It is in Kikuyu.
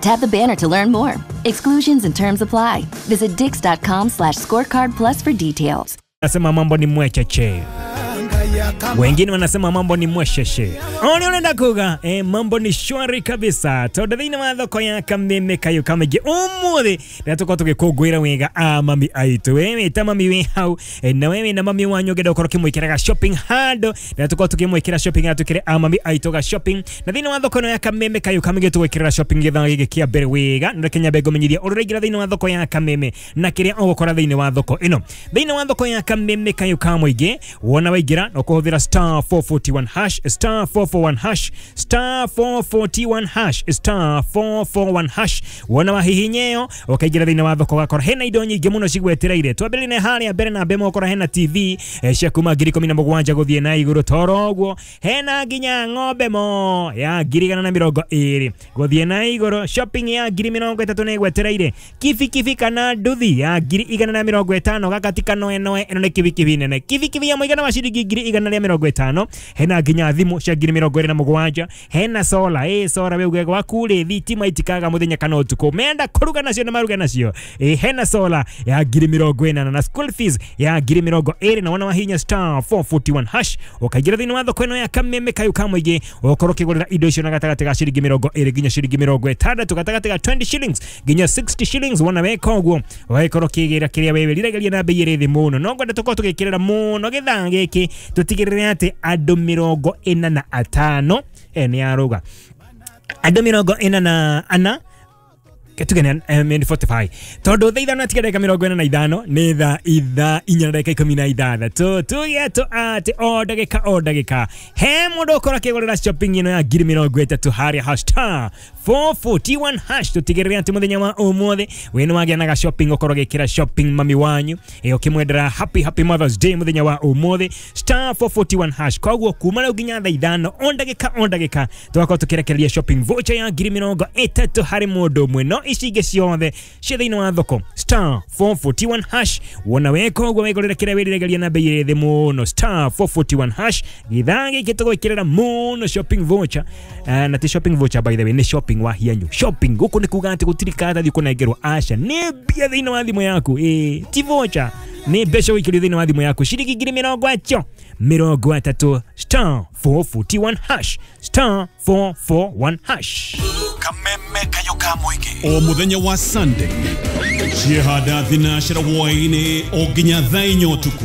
Tap the banner to learn more. Exclusions and terms apply. Visit dix.com/scorecard plus for details. Nasema mambo ni mwecheche. Wengine wanasema mambo ni mwesheshe. Oni unaenda kuga, mambo ni shwari kabisa. Tondu thiini wa thoko ya Kameme Kayu Kamĩingĩ ũmũthĩ rĩrĩa tũkorwo tũgĩkũngũĩra wega a mami aitũ. We wĩ ta mami wĩ hau, na we wĩna mami wanyu ũngĩenda gũkorwo ũkĩmwĩkĩra ga shopping handũ, rĩrĩa tũkorwo tũkĩmwĩkĩra shopping atwĩkĩre a mami aitũ ga shopping. Na thĩinĩ wa thoko ĩno ya Kameme Kayu Kamĩingĩ tũgwĩkĩrĩra shopping gĩthaa gĩkĩ kĩa mbere wega. Na reke nyambe ngũmenyithie ũrĩa ũraingĩra thĩinĩ wa thoko ya Kameme na kĩrĩa ũgũkora thĩinĩ wa thoko ĩno. Thĩinĩ wa thoko ya Kameme Kayu Kamũingĩ, wona waingĩra no kũhũthĩra star 441 hash, star 441 hash, star 441 hash, star 441 hash. Wona wahihinya ĩyo ũkaingĩra thĩinĩ wa thoko ũgakora hena indo nyingĩ mũno cigwetereire. Twambĩrĩrie na harĩa mbere na mbere ũgakora hena TV cia kuma 17,000 gũthiĩ na igũrũ toro ũguo. Hena nginya ng'ombe mo ya 120,000 gũthiĩ na igũrũ. Shopping ya 30,000 nĩ ĩgwetereire. Kibikibi kana nduthi ya 150,000 gaka ti kanoenoe, ĩno nĩ kibikibi nene. Kibikibi ya mũigana wa ciringi 150,000. Hena nginya thimũ cia 27,000. Hena sola, sola we uge gwaku rĩ thitima itikaga mũthenya kana ũtukũ, menda kũruga nacio na maruga nacio. Hena sola ya 40,000 na school fees ya 20,000. Na wona wahinya star 441 hash ũkaingĩra thĩinĩ wa thoko ĩno ya Kameme Kayu Kamũingĩ ũkorwo ũkĩgũrĩra indo icio na gatagatĩ ga ciringi 20 nginya ciringi 60, gatagatĩ ga 20 shillings nginya 60 shillings. Wona weka ũguo ũgagĩkorwo ũkĩgĩra kĩrĩa wewe riragĩria na bei ĩrĩ thĩ mũno. No ngwenda tũkorwo tũgĩkĩrĩra mũno gĩthaa gĩkĩ tũtigĩrĩre atĩ andũ 45 nĩ arauga andũ 44 tugene 45 tondu thaa ithano atiga ndagĩka 45 nĩ thaa ithaa inya na ndagĩka 16. Tuge tu atĩ o ndagĩka o ndagĩka he mũndũ ũkorwo akĩgũrĩra shopping ĩno ya 30,000 harĩa hash star 441 hash. Tũtigĩrĩre atĩ mũthenya wa ũmũthĩ wĩ nĩ wagĩa na ga shopping ũkorwo ũgĩkĩra shopping mami wanyu, ũkĩmwendera happy happy Mother's Day mũthenya wa ũmũthĩ star 441 hash. Koguo kuma rĩu nginya thaa ithano o ndagĩka o ndagĩka tũgakorwo tũkĩrekereria shopping voucher ya 30,000 harĩ mũndũ ũmwe. No ici ingĩ ciothe cia thĩinĩ wa thoko star 441 hash. Wona weka ũguo wĩgũrĩre kĩrĩa wĩriragĩria na bei ĩrĩ thĩ mũno star 441 hash. Gĩthaa gĩkĩ tũgwĩkĩrĩra mũno shopping voucher, na ti shopping voucher by the way, nĩ shopping wa hianyu. Shopping gũkũ nĩ kuga atĩ gũtirĩ karatathi ũkũnengerwo, aca nĩ mbia thĩinĩ wa thimũ yaku. Ti voucher, nĩ mbeca ũikĩrio thĩinĩ wa thimũ yaku ciringi 30,030 star 441 hash, star 441 hash. Kameme Kayu Kamũingĩ o mũthenya wa Sunday ciehanda thinacera hwaĩ-inĩ o nginya thaa inya ũtukũ.